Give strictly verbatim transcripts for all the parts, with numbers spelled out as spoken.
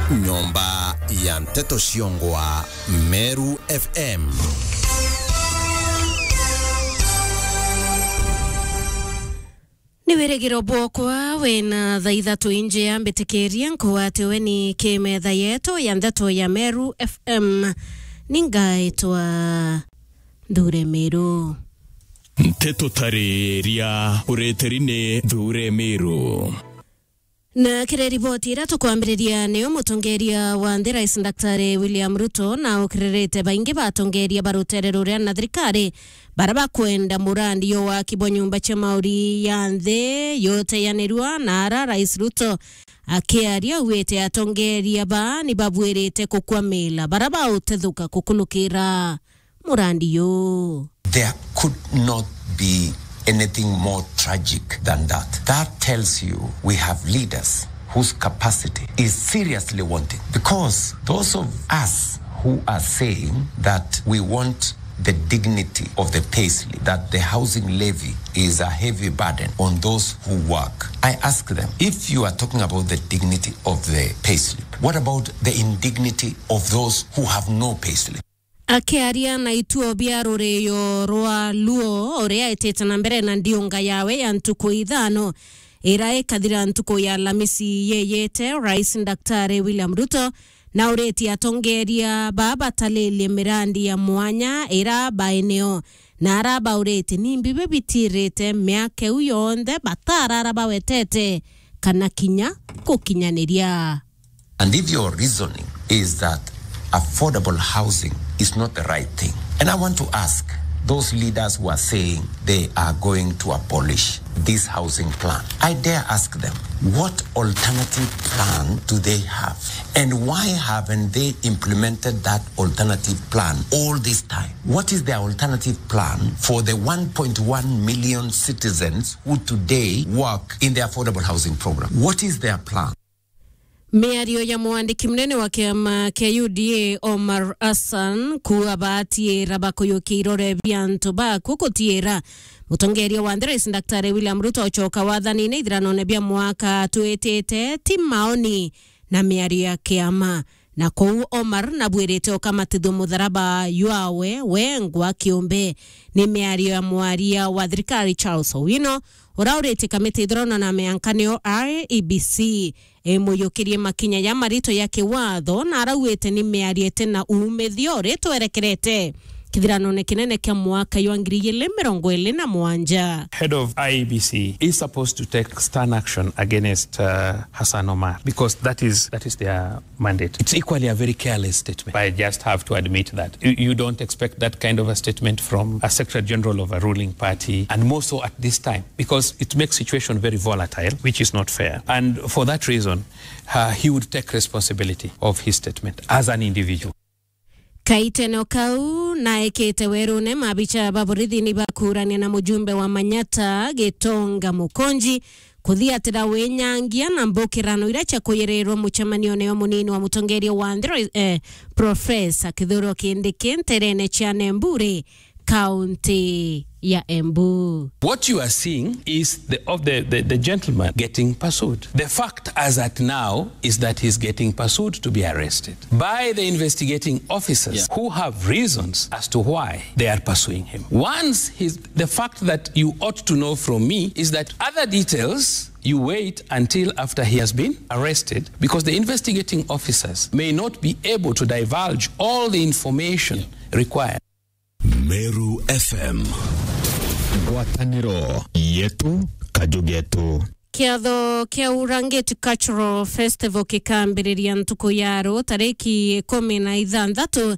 Nyomba ya nteto ciongwa Meru F M. Ni wirigiro bwokwa wina thaa ithatu injia mbitikirie nkuatiwe ni kimetha yetu ya nteto ya Meru F M. Ningaitwa Nthure Miru. Nteto tariria uritiri ni Nthure Miru. Na kiri riboti iria tukwambiriria, niyo mutongeria wa nthi Rais Daktari William Ruto na ukiririte baingi ba atongeria ba rutere ruria na thirikari bara bakwenda murandi yo waki bwa nyumba cia mauri ya nthi yoteyanirua, na ara Rais Ruto akiaria auite atongeria ba ni babwirite kukwamila bara bautethuka kukulukira murandi yu. There could not be anything more tragic than that. That tells you we have leaders whose capacity is seriously wanting. Because those of us who are saying that we want the dignity of the payslip, that the housing levy is a heavy burden on those who work, I ask them, if you are talking about the dignity of the payslip, what about the indignity of those who have no payslip? Akiaria na ituo bia ruriyo rwa Luo, uria etite na mbere na ndiunga yawe ya ntuku ithano, ira ikathira ntuku ya Alamisi yeyete, Rais Daktari William Ruto na uritie atongeria ba batalilie mirandi ya mwanya ira baeneo, na ara bauritie nimbi bibitirite miaka iu yonthe batarara bawetete kana kinya gukinyaniria. And if your reasoning is that affordable housing is not the right thing, and I want to ask those leaders who are saying they are going to abolish this housing plan, I dare ask them, what alternative plan do they have? And why haven't they implemented that alternative plan all this time? What is their alternative plan for the one point one million citizens who today work in the affordable housing program? What is their plan? Miario ya mwandiki munene wa kiama kia U D A, Omar Hassan, kuuga batiira bakuyukia irore bia antu baku gutiira mutongeria wa nthi Rais Daktari William Ruto ochoka wathanine ithiranone bia mwaka twitite, ti maoni na miario ya kiama. Na kou Omar nabwirite ukamatithua mutharaba jwawe wengwa kiumbe. Ni miario ya mwaria wa thirikari Charles Owino, ura uritie kamiti ithurano na miankanio I E B C imuyukirie makinya ja marito ya kiwatho, na arauite ni miario iti na uumithio uri twerekerete kithiranone kinene kia mwaka jwa ngiri igiri mirongo iri na mugwanja. Head of I E B C is supposed to take stern action against, uh, Hassan Omar, because that is, that is their mandate. It's equally a very careless statement. I just have to admit that. You, you don't expect that kind of a statement from a Secretary General of a ruling party, and more so at this time, because it makes situation very volatile, which is not fair. And for that reason, uh, he would take responsibility of his statement as an individual. Kaiteno kau naekete werune mabicha ba borithi ni bakurania na mujumbe wa Manyata, Gitonga Mukonji, kuthiatira winyangia na mbukirano iria cia kuyirirwa mucemanione yo munini wa mutongeria wa nthi, eh, Professor Kithure Kindiki nterene cia Nemburi, kaunti ya Embu. What you are seeing is the, of the, the, the gentleman getting pursued. The fact as at now is that he's getting pursued to be arrested by the investigating officers, yeah, who have reasons as to why they are pursuing him. Once he's, the fact that you ought to know from me is that other details you wait until after he has been arrested, because the investigating officers may not be able to divulge all the information, yeah, required. Meru F M. Ngwataniro yetu, kaju getu. Kiatho kia Urangiti Cultural Festival kikambiriria ntuku ya ru tariki ikumi na ithanthatu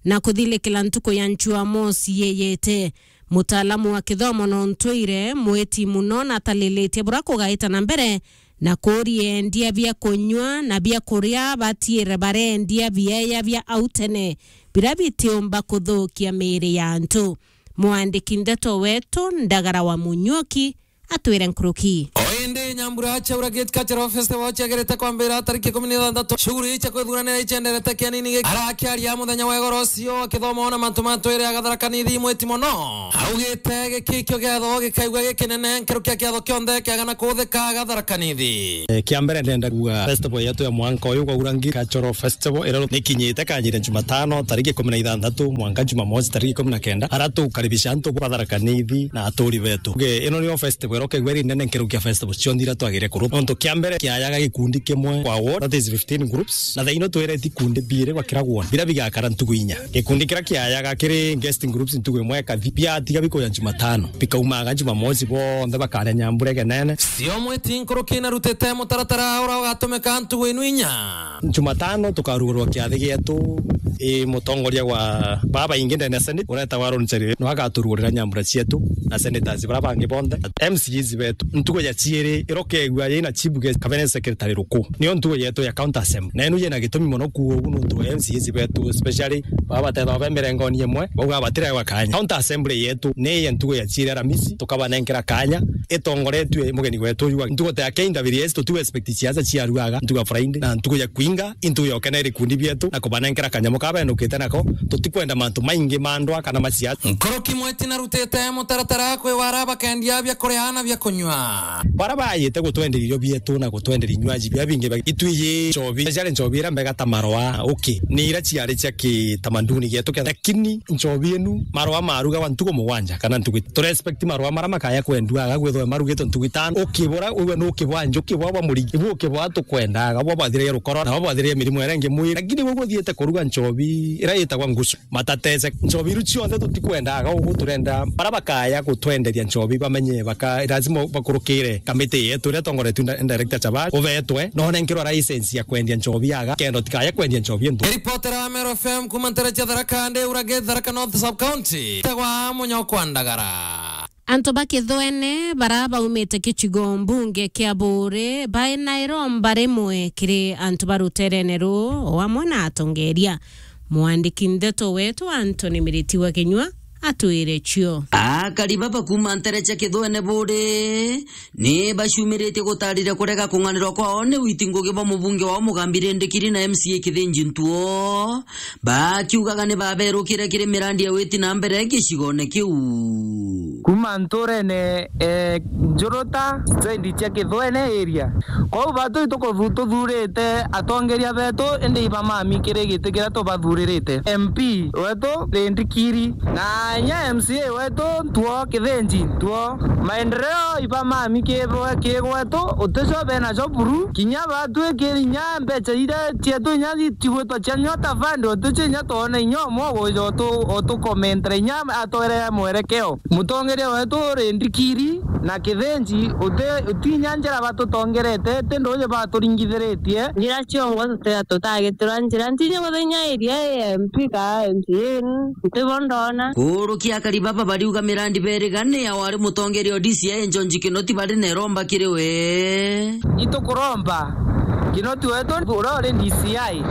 na kuthilikira ntuku ya Njuamosi yeyete. Mutaalamu wa kithomo na untuire, mwiti muno na atalilitie bura kugaita na mbere na kuuria endia bia kunyua na bia kuria batiire barendia bieya bia au tene, biria bitiumba kuthukia miiri ya antu. Mwandiki ndeto wetu Ndagara wa Munyuki atwire nkuruki. O indi Nyambura Chaura Gate Cultural Festival chiagerete kwambira tariki ikumi na ithanthatu. Shughuli cia kwithuranira ichenderete kianini giki. Arakiaria muthenya wa igoro ucio akithoma ona mantu matwire agatharakanithi mwiti mono. Augite giki kio giatho gikaigua gikinene nkeru kia kiatho kionthe kiagana kuthika agatharakanithi. Eh, kia mbere ndenda kuuga festival yetu ya mwanka uyu kwa Urangi Cultural Festival ira nikinyite kanyire Jumatano tariki ikumi na ithanthatu mwanka Jumamosi tariki ikumi na kenda, ara tukaribisha antu ba Tharaka Nithi na aturi betu. Nge, ino niyo festival ira ukaigua iri nene nkeru kia festival cionthe ira twagire kuruta. Nontu kia mbere kiayaga gikundi kimwe kwa ward, that is fifteen groups, na thaino twireti ikundi biiri bakira ward, bira bigakara ntugu inya. Gikundi kira kiayaga kiri guest groups ntugu imwe ikathi, biatiga bikuya Jumatano, bikaumaga Jumamosi bonthe bakaria nyambura igenene. Cio mwiti nkuruki narutite mutaratara ura ugatumika ntugu inu inya. Jumatano tukarugurwa kiathi gietu, i mutongoria wa baba ingi ndene ya Senate, uretawa Aaron Cheruyot, no agaturugurira nyambura cietu na senators bara bangi bonthe. M C As betu, ntugu ya ciiri, irokegua yina chief guest, cabinet secretary ruku. Niyo ntugu yetu ya county assembly. Na inu yina gitumi mono kuu ugu nuntu wa M C As betu, especially baba batethagwa be mirengoni imwe, bauga batirewa kanya. County assembly yetu ni ya ntugu ya ciiri Aramisi, tukabanenkera kanya, itongoretue mugeni wetu uyu. Ntugu ta ya K W S, tutiwe expect siasa ciaruaga, ntugu ya Friday, na ntugu ya kuinga, intugu ya ukenera ikundi bietu, na kubanenkera kanyamu kabenukite nako, tutikwenda mantu maingi ma ndwa kana ma siasa. Nkuruki mwiti narutite mutaratara kwi wara bakendia bia kuria na bia kunywa. Bara bayite gutwenderia irio bietu na gutwenderia inywaji bia bingi bia itwiji nchobi, ciari nchobi ira mbega ta marwa, okay, ni ira ciari cia kitamaduni gietu kia, lakini nchobi inu marwa maruga wa ntugu mugwanja kana ntugu, tu respect marwa mara makaya kwendua aga gwithwe marugitwe ntugu itano, ukibura uwe ni ukibwa njuki bwa bwa murigi, ibu ukibwa tukwendaga bwa bwathirire rukoro na bwa bwathirire mirimo iria ingi mwiri, lakini we guthiite kuruga nchobi ira yitagwa ngusu. Matatese. Nchobi iru cionthe tutikwendaga ugu, turenda bara bakaya gutwenderia nchobi bamenye baka, lazima bakurukire kamiti yetu iria tongoretue nda-, director Chabari, ubetwe, no nenkerwa license ya kwendia nchobi aga, kenda utikaya kwendia nchobi ntu. Ripotera wa Meru F M kuma ntere cia Tharaka, ndi Urage, Tharaka North Sub County. Tegwa Munyokwa Ndagara. Antu ba Kithwene bara baumite gicigo mbunge kia Buuri baina iromba rimwe kiri antu ba ruterene ruu o amwe na atongeria. Mwandiki ndeto wetu Anthony Miriti wa Kinyua atwire cio. Akari baba kuma ntere cia Kithwene Buuri ni bacumiritie gutarire kurega kung'anirwa kwao ni witi ngugi bwa mubunge wao Mugambi Rindikiri na M C A Kithinji Ntuo, bakiugaga ni baberukire kiri mirandi ya witi na mbere gicigone kiu. Kuma nturene, eh, Njuruta, stendi cia Kithwene area. Kwou batu itukuthu-, tuthurite atongeria betu, indi ibamami kiri giti kiria tubathuririte. M P wetu Rindikiri, na inya M C A wetu Ntuo Kithinji Ntuo. Maendeleo ibamami ki-, kigwetu, uticio benacio buru. Kinya batwikiri inya mbeca iria cietu inya itigwitwa cia Nyota Fund, uticio inya twona inya umwe uguja utu-, utukomentera inya atwere mwerekeo. Mutongeria wetu Rindikiri na Kithinji, uti-, utinya njira batutongerete, ti nduuji baturingithiritie. Njira ciongwa tuti-, tutagitirwa njira ntinye kuthenya iria M P ka M C A, ntibo ndona. Kurukia akari baba bariuga mirandi berigane ya wari mutongeria o D C I Njonji Kinoti bari na iromba kiri we. Itukuromba Kinoti wetu uria uri D C I.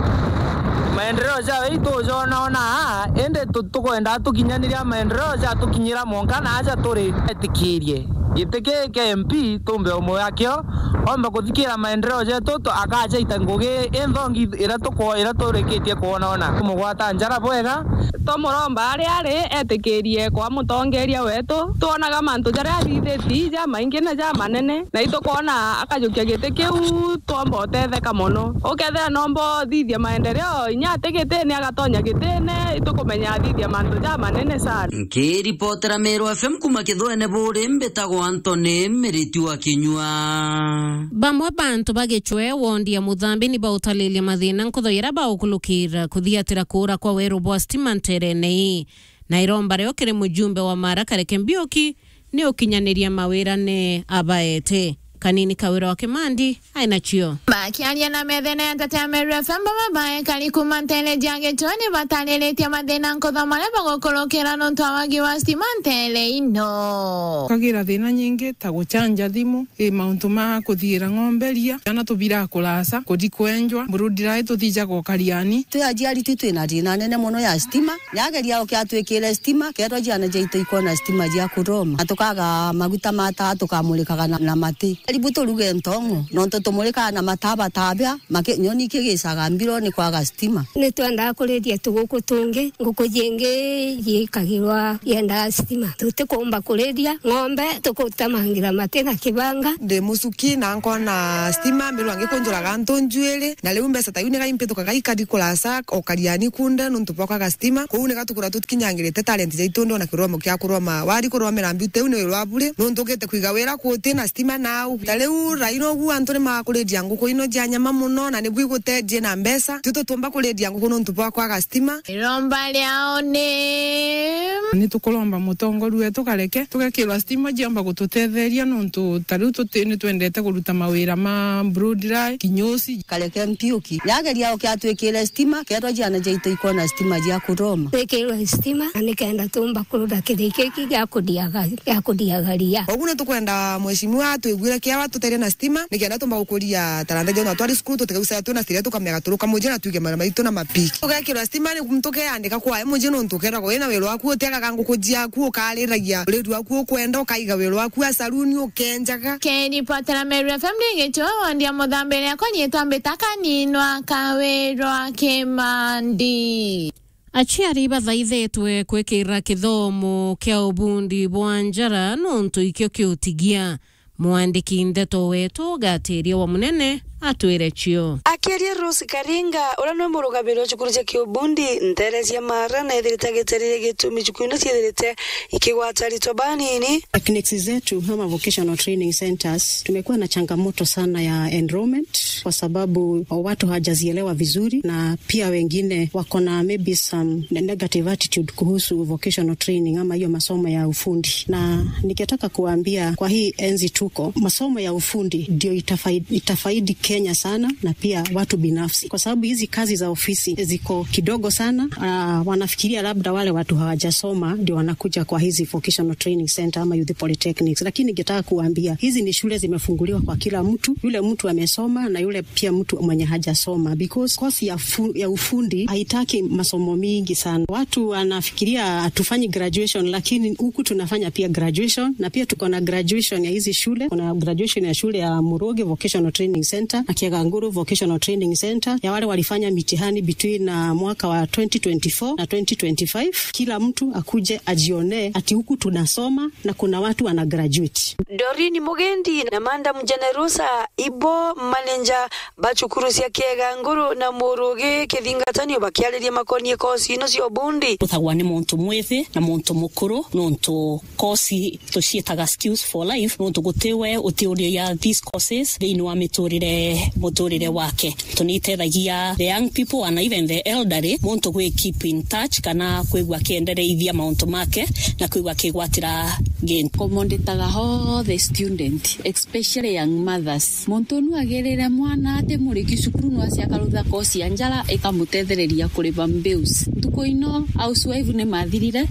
Maendeleo jawe itujonaona aa, indi tu-, tukwenda tukinyaniria maendeleo jatukinyira mwanka na aja turi. Etikirie giti ki kia M P tumbe umwe akio, omba kuthikira maendeleo jetu, tu-, akajaita ngugi inthongi ira tuko-, ira turikitie kwonaona. Tumugwata njara bwega. Tumuromba ari ari etikirie kwa mutongeria wetu. Twonaga mantu jaria athithitie jamaingi na jamanene, na itukwona akajukia giti kiu twomba utetheka mono. Ukethira nomba uthithia maendeleo, inya ati gitine agatonya gitine, itukumenya athithia mantu jamanene sana. Nkiripotera Meru F M kuma Kithwene Buuri, mbitagwa Anthony Miriti wa Kinyua. Bamwe bantu ba Gicwe, wondi ya Muthambi, ni bautalilia mathina nkutho iria baukulukira kuthiatira kuura kwa weru bwa stima nterene ii, na iromba rio kiri mujumbe wa Mara Kareke Mbiuki ni ukinyaniria mawira ne abaete. Kanini Kawira wa Kimandi ai nacio. Bakiaria na methene ya Nteto ya Meru F M, baba baekari kuma ntere cia Gicua ni batariritie mathina nkuthoma maria bagukurukira nontu wa wagi wa stima ntere ino. Tukagira thina nyingi ta gucanja thimu, i mauntu ma kuthiira ng'ombe ria, ciana tubiraga kuraca, kuthi kwenjwa, mburudi rai tuthijaga ukariani. Twi aciari tu twina thina nene mono ya stima. Nyageria ukiatwikire stima, ketwa ciana ciaitu ikwona stima cia kuroma. Na tukaga maguta ma taa tukamurikaga na, na mati. Karibu turuge ntong'o, nontu tumurikaga na mataa batabia, maki-, nyoni ikigicaga mbiro ni kwaga stima. Ni twendaga kuriria tuguku tungi, nguku jingi ciikagirwa yendaga stima. Tutikumba kuriria ng'ombe, tukutemangira mati na kibanga. Ndi mucuki na nkona stima, mbirwa ngikunjuraga antu njuiri, na riu mbeca ta iu ni gai mpitukaga ikari kuraca, o kariani kunde, nontu bwa kwaga stima. Kou ni gatukurwa tutikinyangirite talent jaitu, ndi ona kiromo kia kuroma. Wari kuromera mbiu teu ni wirwa bure, nontu ugite kwiga wira kuuti na stima nau. Ta riu rai nogu antu ni makuriria nguku ino cia nyama mono, na nibu igutethie na mbeca. Tui tutiumba kuriria nguku nontu bwa kwaga stima. Iromba riao ni Ni tukuromba mutongoria wetu kareke tugekirwa stima ciamba gututetheria, nontu ta riu tuti ni twendete kuruta mawira ma broad line, kinyosi. Kareke Mpiuki. Yageria ukiatwikire stima, ketwa ciana ciaitu ikwona stima cia kuroma. Twikirwe stima, na nikenda tumba kuruta kiriki gia kuthiaga, gia kuthiaga ria. Koguo ni tukwenda mheshimiwa atwiguire kiawa tuterie na stima, nikenda tumba gukuria talanta cia ona twari cukuru, tutigaucaga twina stima, tukamega turuka muji na tuige mara maitu na mapiki. Tugekirwa stima, ni tukeandika kwae muji, nontu ukeragwa wina wira waku, utiagaga nguku ciaku, ukariragia uriri waku ukwenda, ukaiga wira waku a saluni, ukenjaga. Kiripotera Meru F M ndi Gicua, wondi ya Muthambiri, akwa nyitwa Mbita Kaninwa Kawirwa Kimandi. Aciari ibathaithitwe kwikira kithomo kia ubundi bwa njara nontu ikio kiutigia. Mwandiki ndeto wetu Gatiria wa Munene atwire cio. Akiaria Rose Karinga, uria niwe murugamiri wa cukuru cia kiubundi ntere cia Mara, na ethirite agitariria gitumi cukuru ino ciethirite ikigwata aritwa banini. Techniques zetu ama vocational training centers, tumekuwa na changamoto sana ya enrollment kwa sababu watu hawajazielewa vizuri, na pia wengine wako na maybe some ne-, negative attitude kuhusu vocational training ama hiyo masomo ya ufundi. Na ningetaka kuambia kwa hii enzi tuko, masomo ya ufundi ndio itafaid-, itafaidi Kenya sana na pia watu binafsi, kwa sababu hizi kazi za ofisi ziko kidogo sana. Ah, wanafikiria labda wale watu hawajasoma ndio wanakuja kwa hizi vocational training center ama youth polytechnics, lakini ningetaka kuambia hizi ni shule zimefunguliwa kwa kila mtu, yule mtu amesoma na yule pia mtu mwenye hajasoma, because course ya fu-, ya ufundi haitaki masomo mingi sana. Watu wanafikiria hatufanyi graduation, lakini huku tunafanya pia graduation, na pia tuko na graduation ya hizi shule. Kuna graduation ya shule ya Murugi Vocational Training Center na Kiaganguru Vocational Training Center ya wale walifanya mitihani between, uh, mwaka wa twenty twenty-four na twenty twenty-five. Kila mtu akuje ajionee ati huku tunasoma na kuna watu wana graduate. Doreen Mugendi na Madam Generosa Ibo, manager ba cukuru cia Kieganguru na Murugi Kithingatanio, bakiariria makonie kosi ino cia ubundi. Uthagwa ni muntu mwithi na muntu mukuru, nontu kosi tuciitaga skills for life, nontu guti we utiuria these courses thiini wa miturire, muturire wake. Tunitethagia the young people and even the elderly, muntu gwi keep in touch kana kwigua akiendereithia mauntu make na kwigua akigwatira gintu. Komondetaga all the student, especially young mothers. Muntu nu agirire mwana ati muriki cukuru, no acia akarutha kosi ya njara ikamutethereria kuriva bills. Ntuku ino housewife ni mathirire.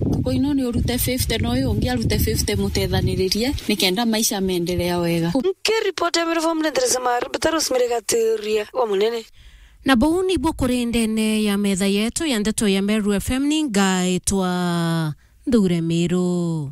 Ntuku ino ni urute fifty, no uyu ungi arute fifty, mutethaniririe nikenda maisha meendelea wega. Nkiripoti ya Meru F M ni Theresa Maru, Peter Rosemary Gaturia wa Munene. Na buu nibuo kuri ndene ya metha yetu ya ndeto ya Meru F M, ni ngaitwa Nthure Miru.